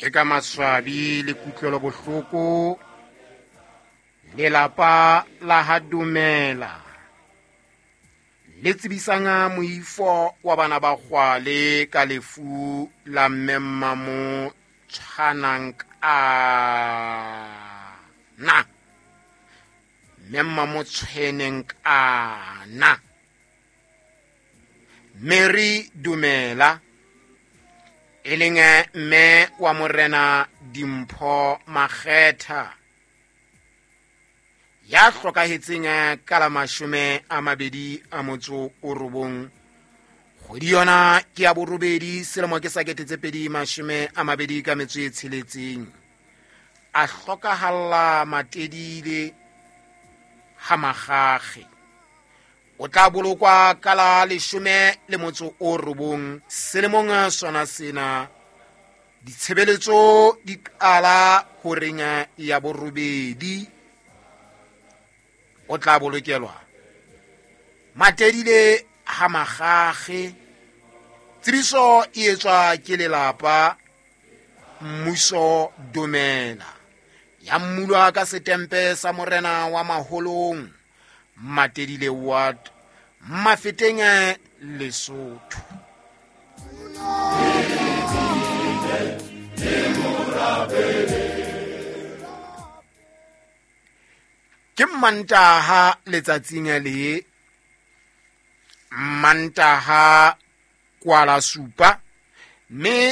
Ke ka maswabi le kutlwelo bohloko lelapa la ha Dumela le tsebisang moifo wa bana ba kgwale ka lefu la mme Mmamo tshwanang kana mme Mmamo tshweneng kana Mary Dumela e leng mme wa Morena Dimpho Makgetha ya hlokahetseng ka la 29 kgwedi yona ke ya borobedi selemo ke sa 2026 a hlokahalla Matedile ha Magage. O tla bolokwa ka la 19 selemong sona sena. Ditshebeletso di qala horeng ya borobedi. O tla bolokelwa Matedile ha Magage. Tsebiso e etswa ke lelapa Mmuso Dumela ya mmulwa ka setempe sa Morena wa Maholong, Matedile Ward, Mafeteng, Lesotho. Ke Mmantaha letsatsing le Mmantaha kwala supa mme